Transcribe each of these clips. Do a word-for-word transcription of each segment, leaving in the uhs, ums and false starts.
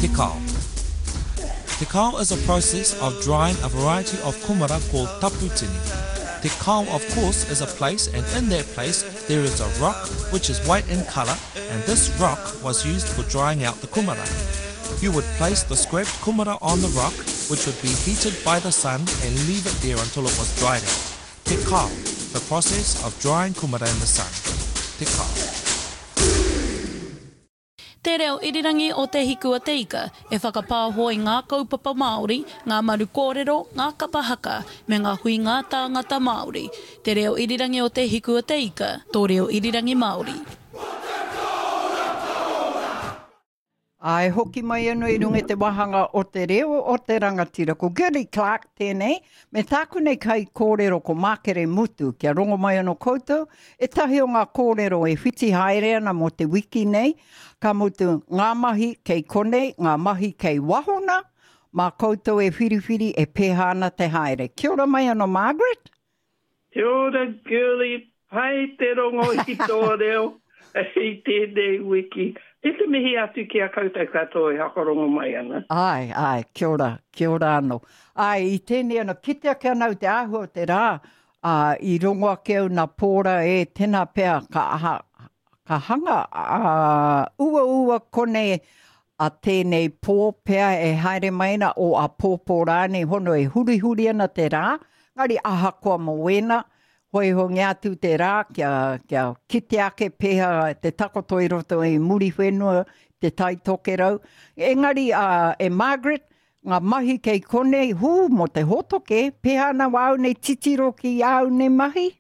Te kao. Te kao is a process of drying a variety of kumara called taputini. Te kao, of course, is a place, and in that place there is a rock which is white in colour, and this rock was used for drying out the kumara. You would place the scraped kumara on the rock, which would be heated by the sun, and leave it there until it was dried out. Te kao, the process of drying kumara in the sun. Te kao. Te reo irirangi o Te Hiku a Te Ika e whakapāho i ngā kaupapa Māori, ngā maru kōrero, ngā kapa haka, me ngā hui ngā tāngata Māori. Te reo irirangi o Te Hiku a Te Ika, tō reo irirangi Māori. Ai, hoki mai anō i runga i te wāhanga o te reo o te rangatira. Ko Girlie Clark tēnei, me tāku nei kai kōrero ko Mākere Mutu, kia rongo mai anō koutou, ētahi o ngā kōrero e whiti haere ana mō te wiki nei, ka mutu ngā mahi kei konei, ngā mahi kei wahona, mā koutou e whiriwhiri e pēhā ana te haere. Kia ora mai anō, Margaret? Kia ora, Girlie, pai te rongo i tō reo i tēnei wiki. E te mihi atu ki a koutou katoa e whakarongo mai ana. Ai, ai, kia ora, kia ora anō. Ai, i tēnei anō, kite ake ana au te āhua o te rā, ā, i rongo ake au nā pōra e tēnā pea ka, aha, ka hanga, ā, uaua konei a tēnei pō pea e haere mai ana o a pōpō rānei hono e hurihuri ana te rā, ngari ahakoa mō wēnā, hoihongia atu te rā kia, kia kite ake pēhā te takoto i roto i Muriwhenua, te Tai Tokerau. Engari uh, e Margaret, ngā mahi kei konei, hū, mō te hōtoke, pēhā ana wāu nei titiro ki āu nei mahi?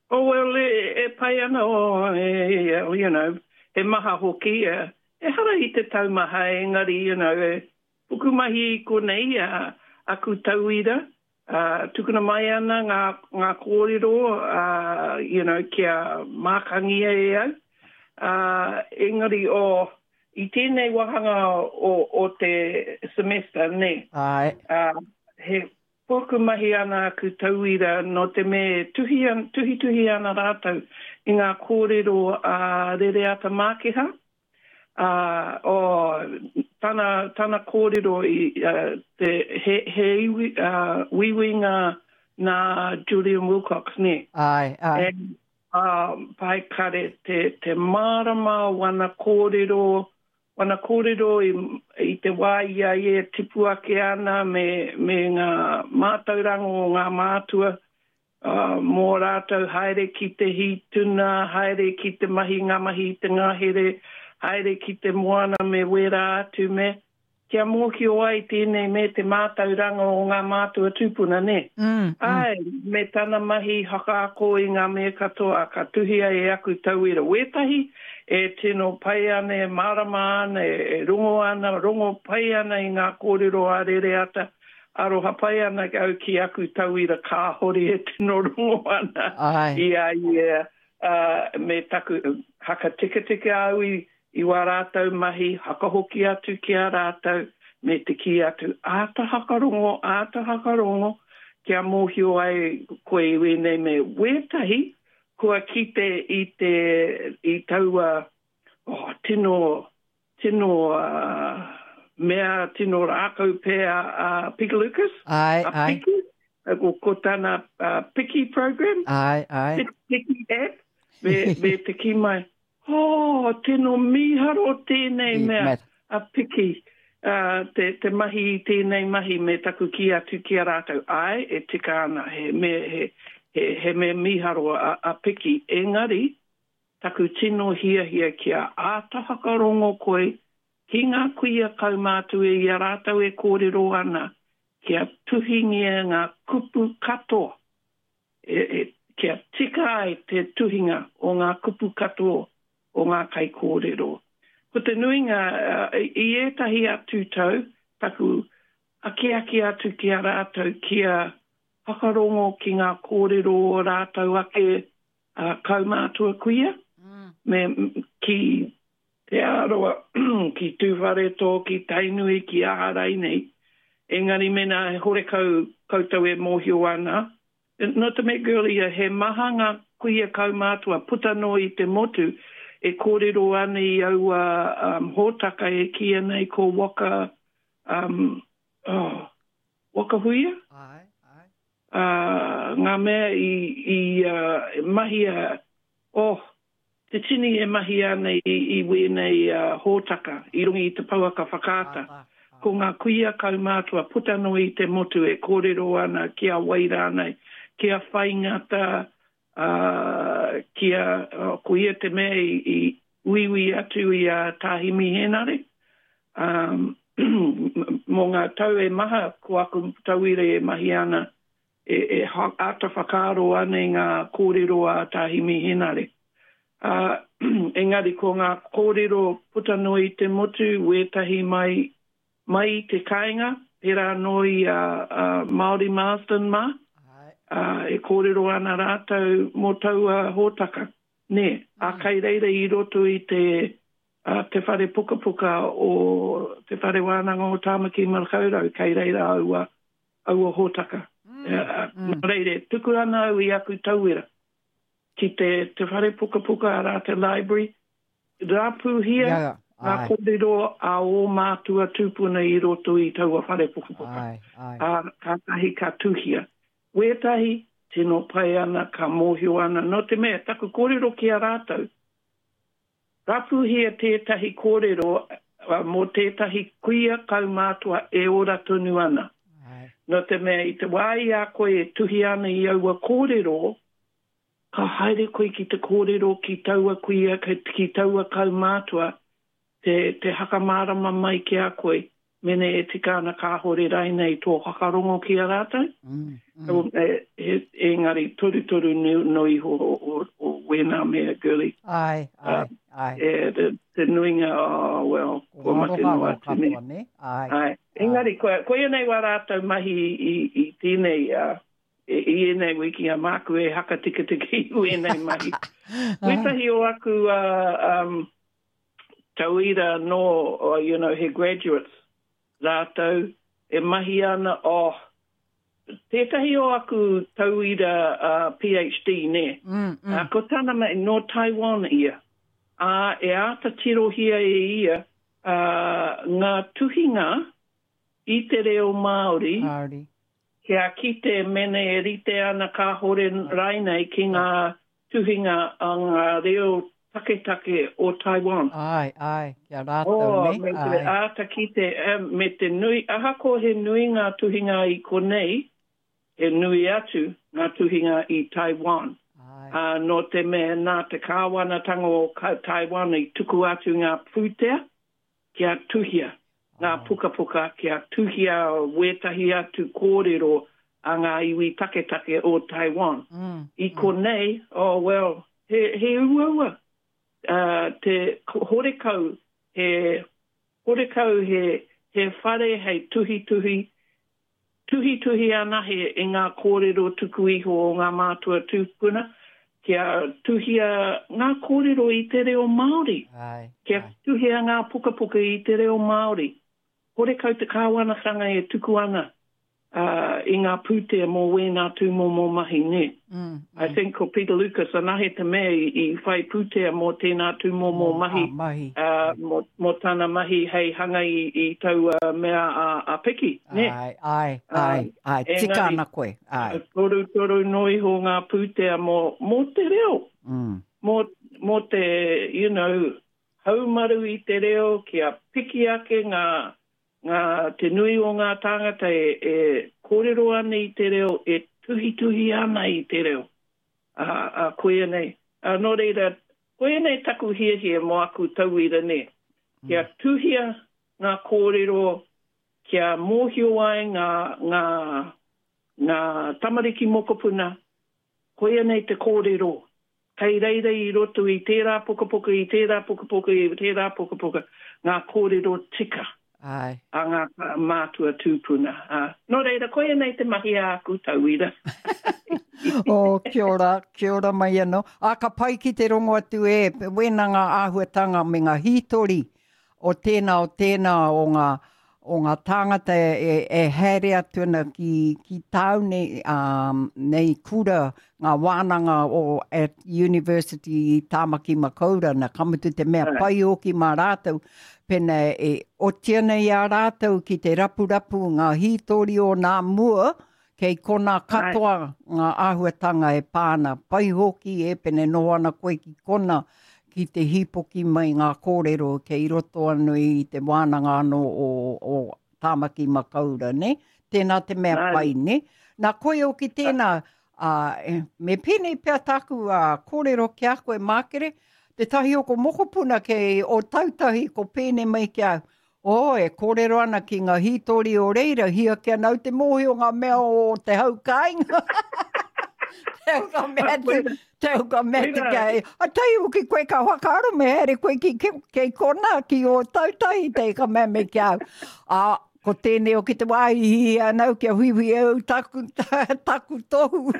Oh, well, e, e pai ana, oh, e, e, you know, he maha hoki, e, ehara i te taumaha, engari, you know, e, puku mahi i konei, a, aku tauira, Uh, tukuna mai ana ngā, ngā kōrero, uh, you know, kia mākangia e au. Uh, engari, oh, i tēnei wāhanga o, o te semester, ne? Ai. Uh, he puku mahi ana aku tauira no te me tuhi, an, tuhi tuhi ana rātou i ngā kōrero a uh, Rereata Mākeha. Uh, oh, tana, tana kōrero i uh, te, he, he iwi, uh, wiwinga nā Julian Wilcox, ne? Ai, ai. And, uh, pai kare te, te mārama wana kōrero, wana kōrero i, i te wā i a ia tipu ake ana me, me ngā mātauranga o ngā mātua, uh, mō rātou haere ki te hītuna, haere ki te mahi ngā mahi i te ngahere, haere ki te moana me wērā atu me, kia mōhio ai tēnei me te mātauranga o ngā mātua tūpuna, ne? Mm, mm. Ai, me tana mahi hakaako i ngā mea katoa, ka tuhia e aku tauira wētahi, e tino pai ana, e mārama ana, e, e rongo ana, rongo pai ana i ngā kōrero a Rereata, aroha pai ana au ki aku tauira kāhore e tino rongo ana. Ai. I a ia, uh, me taku hakatikatike au i, i wā rātou mahi, hakahoki atu ki a rātou, me te kī atu, āta hakarongo, āta hakarongo, kia mōhio ai koe i wēnei me wētahi, kua kite i te, i taua, oh, tino, tino, uh, mea, tino rākau pea a uh, Piki Lucas. Ai, a ai. Piki, ko, ko tana, uh, Piki program. Ai, ai. Piki app, me, me te kī mai, oh, tino mīharo tēnei I mea, met. a Piki, uh, te, te mahi i tēnei mahi me taku kī atu ki a rātou. Ai, e tika ana, he me, he, he, he mea mīharo a, a Piki. Engari, taku tino hiahia kia āta whakarongo koe ki ngā kuia kaumātua i a rātou e kōrero ana, kia tuhingia ngā kupu katoa. E, e, kia tika ai te tuhinga o ngā kupu katoa o ngā kaikōrero. Ko te nuinga, uh, i ētahi atu tau, taku akiaki atu ki a rātou, kia whakarongo ki ngā kōrero o rātou ake, uh, kaumātua kuia, Mm. me, ki Te Arawa, ki Tūwharetoa, ki Tainui, ki Aharai nei. Engari mena he horekau koutou e mōhio ana. No te mea, girlie, he maha ngā kuia kaumātua puta noa i te motu e e kōrero ana i aua um, hōtaka e kīia nei ko Waka, um, oh, Waka Huia? Ai, ai. Uh, ngā mea i, i uh, mahia, oh, te tini e mahi ana i, i wēnei uh, hōtaka, i runga i te pouaka whakaata. Ai, ai. Ko ngā kuia kaumātua puta noa i te motu e kōrero ana ki a wai rānei, ki a Whaingata, uh, ki a, uh, ko ia te mea i, i uiui atu i a Tā Himi Henare. Um, mō ngā tau e maha, ko aku tauira e mahi ana, e, e ha, āta whakaaro ana i ngā kōrero a Tā Himi Henare. Uh, engari ko ngā kōrero puta noa i te motu, wētahi mai, mai i te kāinga, pērā anō i a, a Māori Marsden mā, Ai. uh, e kōrero ana rātou mō taua hōtaka. Nē, a kai reira i roto i te, uh, te whare pukapuka o te whare wānanga o Tāmaki Makaurau, kai reira aua, aua hōtaka. Mm, Uh, mm. nō reira, tuku ana au i aku tauira ki te, te whare pukapuka arā te library, rāpūhia Ia, ngā ai, kōrero a ō mātua tūpuna i roto i taua whare pukapuka. ai, ai. Ā, kātahi ka tuhia. Wētahi, tino pai ana, ka mōhio ana. Nō te mea, taku kōrero ki a rātou, rapuhia tētahi kōrero uh, mō tētahi kuia kaumātua e ora tonu ana. Ai. Nō te mea, i te wā i a koe e tuhi ana i aua kōrero, ka haere koe ki te kōrero ki taua kuia, ki, ki taua kaumātua, te, te hakamārama mai ki a koe, mene e tika ana kāhore rainei tō whakarongo ki a rātou. Mm, mm. E, e, engari torutoru no, no iho o, o, o wēnā mea, girlie. Ai, ai, ai. E, te, te nuinga, oh, well, Ko kua mate noa ngaro atu katoa, nei. ne? Ai. Ai. Engari, koe, koia nei wā rātou mahi i, i tēnei, uh, i, i ēnei wiki a māku e hakatikatiki i wēnei mahi. Wētahi o aku uh, um, tauira no, uh, you know, he graduates, rātou e mahi ana, oh, tētahi o aku tauira uh, PhD, nē. Mm, mm. Uh, ko tana mai, no Taiwan ia. Ā, e āta tirohia e ia uh, ngā tuhinga i te reo Māori, Māori. kia kite mene e rite ana kāhore rainei ki ngā tuhinga a ngā reo taketake o Taiwan. Ai, ai, kia rātou, Oh, ne? me te Ai. āta kite, eh, me te nui, ahakoa he nui ngā tuhinga i konei, he nui atu ngā tuhinga i Taiwan. Ai. Uh, nō te mea nā te kāwanatanga o Ka- Taiwan i tuku atu ngā pūtea kia tuhia ngā pukapuka, kia tuhia wētahi atu kōrero a ngā iwi taketake o Taiwan. Mm, I konei, oh well, he, he uaua. Uh, te horekau, he, horekau he, he whare hei tuhituhi, tuhituhi anahe i ngā kōrero tuku iho o ngā mātua tūpuna, kia tuhia ngā kōrero i te reo Māori, Ai, kia ai. tuhia ngā pukapuka i te reo Māori. Horekau te kāwanatanga e tuku ana uh, i ngā pūtea mō wēnā tūmomo mahi, nē. Mm, I think ko Peter Lucas anahe te mea i, i whai pūtea mō tēnā tūmomo mahi, Ah, mahi. uh, mō, mō tana mahi hei hanga i, i taua mea a, a Piki, nē. Ai, ai, ai, ai. Tika engari- ana koe, ai. Toru toru no iho ngā pūtea mō, mō te reo, Mm. mō, mō te, you know, haumaru i te reo, kia piki ake ngā, ngā, te nui o ngā tāngata e, e kōrero ana i te reo, e tuhituhi ana i te reo. A, a koia nei. A, nō reira, koia nei taku hiahia mō aku tauira nei. Kia tuhia ngā kōrero, kia mōhio ai ngā, ngā, ngā tamariki mokopuna, koia nei te kōrero. Kei reira i roto i tērā pukapuka, i tērā pukapuka, i tērā pukapuka, ngā kōrero tika Ai. a ngā mātua tūpuna. Uh, nō reira, koia nei te mahi a aku tauira. Oh, kia ora, kia ora mai anō. A, ka pai ki te rongo atu e, wēnā ngā āhuatanga me ngā hītori o tēnā o tēnā o ngā, o ngā tāngata e, e, e haere atu ana ki, ki tāu nei, um, nei kura, ngā wānanga o at University i Tāmaki Makaurau, na ka mutu te mea pai hoki mā rātou, pena e oti ana i a rātou ki te rapurapu ngā hītori o nā mua, kei kona katoa ngā āhuatanga e pāna. Pai hoki e pene noho ana koe ki kona, ki te hīpoki mai ngā kōrero kei roto anō i te wānanga anō o, o Tāmaki Makaurau, ne? Tēnā te mea pai, ne? Nā koe hoki tēnā, uh, me pēnei pea tāku uh, kōrero ki a koe Mākere, tētahi o ko mokopuna kei Ōtautahi ko pēnei mai ki au, o, e kōrero ana ki ngā hītori o reira, hia kia nau te mōhio ngā mea o te hau kāinga. Te hau ka mea te, te hau ka mea te kei. A tai hoki koe ka whakaaro me haere koe ki, ki, kei kona, ki Ōtautahi te ka mea me ki au. A, ko tēnei o ki te wāhi hi anau kia huihui au taku, taku tohu.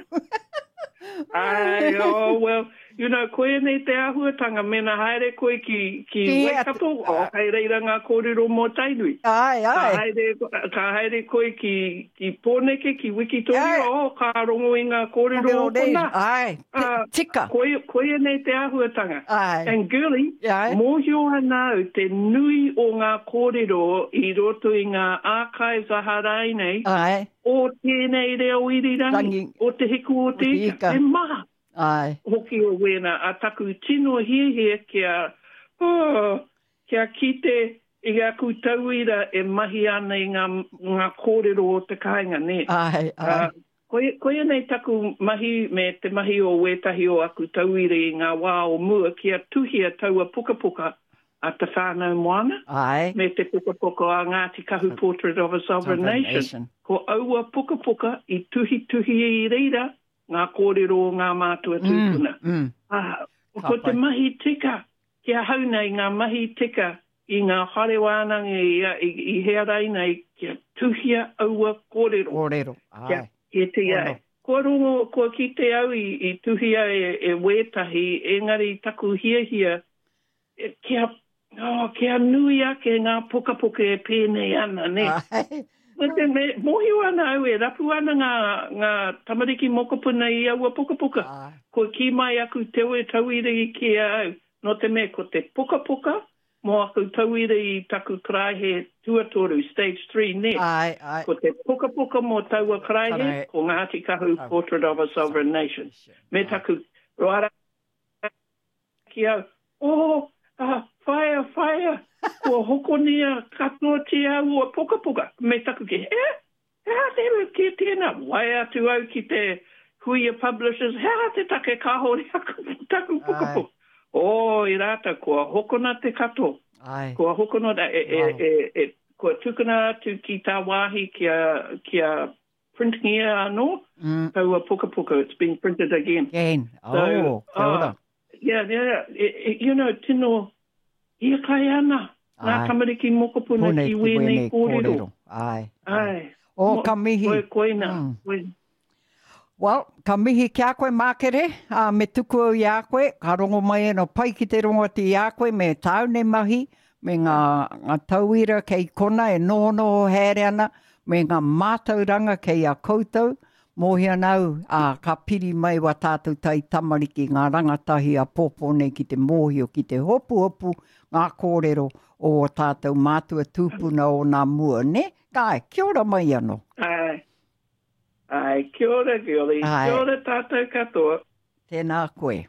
Ai, oh, well, you know, koe nei te āhuatanga, mena haere koe ki, ki Ki Waikato, o, hei reira ngā kōrero mō Tainui. Ai, Ka ai. haere, ka haere koe ki, ki Pōneke, ki Wikitoria, Ai. oh, ka rongo i ngā kōrero o Kōrero reira. kona. Ai, te, Ah, tika. Koe, koe nei te āhuatanga. Ai. And girlie, Ai. mōhio ana au te nui o ngā kōrero i roto i ngā archives a harai nei, Ai. o tēnei reo irirangi, Rangi. o te hiku o te te ika. ika. He maha Ai. hoki o wēnā, a taku tino hiahia kia, oh, kia kite i aku tauira e mahi ana i ngā, ngā kōrero o te kāinga, ne? Ai, ai. Uh, koe, koe nei taku mahi me te mahi o wētahi o aku tauira i ngā wā o mua kia tuhia taua pukapuka a Te Whānau Moana Ai. me te pukapuka a Ngāti Kahu Portrait of a Sovereign Sovereign Nation. Nation. Ko aua pukapuka i tuhituhi i reira ngā kōrero o ngā mātua tūpuna. Mm, mm. Ah, Ka ko te pai. mahi tika, ki ahau nei ngā mahi tika i ngā whare wānanga i, i, i hea raina i kia tuhia aua kōrero. Kōrero. Kia Ai. e te ai. Ono. Kua rongo, kua kite au i, i tuhia e, e wētahi, engari taku hiahia, e, kia, oh, kia nui ake ngā pukapuka e pēnei ana, ne? Ai. Me te me, mōhio ana au e rapu ana ngā, ngā tamariki mokopuna i aua pukapuka. Ai. Kua ki mai aku tewe tauira i ki a au, no te mea ko te pukapuka, mō aku tauira i taku karaehe tuatoru, stage three, ne? Ai, ai. Ko te pukapuka mō taua karaehe, Karaehe. ko Ngāti Kahu Kahu. Portrait of a Sovereign Nation. Me taku roara ki au, oh, ah, whaea, whaea, kua hokonia katoatia aua pukapuka. Me taku ki, eh, he aha te ki tēnā, waea atu au ki te Huia Publishers, he aha te take kāhore aku, taku pukapuka. O, i rātou, kua hokona te katoa. Ai. Kua hokona, e, e, e, e, kua tukuna atu ki tā wāhi kia, kia printingia anō, Mm. taua pukapuka, it's been printed again. Again. Oh, So, kia ora. ah, yeah, yeah, e, e, you know, tino hiakai ana ngā Ai. tamariki mokopuna Pune ki wēnei kōrero. Ai. Ai. O, Mo- ka mihi. Koe, koina. Mm. Koe. Well, ka mihi ki a koe Mākere, uh, me tuku au i a koe, ka rongo mai eno pai ki te rongo atu i a koe me tāu nei mahi, me ngā, ngā tauira kei kona e nohonoho haere ana, me ngā mātauranga kei a koutou, mōhio ana au, uh, ka piri mai wa tātou tai tamariki ngā rangatahi a pōpō nei ki te mōhio, ki te hopuhopu ngā kōrero o o tātou mātua tūpuna o nā mua, ne? Kai, kia ora mai anō. Ai. Ai, kia ora, Girlie. Ai. Kia ora tātou katoa. Tēnā koe.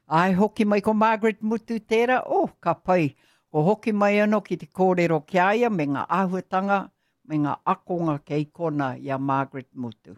Ai, hoki mai ko Margaret Mutu tērā, oh, ka pai. Ko hoki mai anō ki te kōrero ki a ia me ngā āhuatanga, me ngā akonga kei kona i a Margaret Mutu.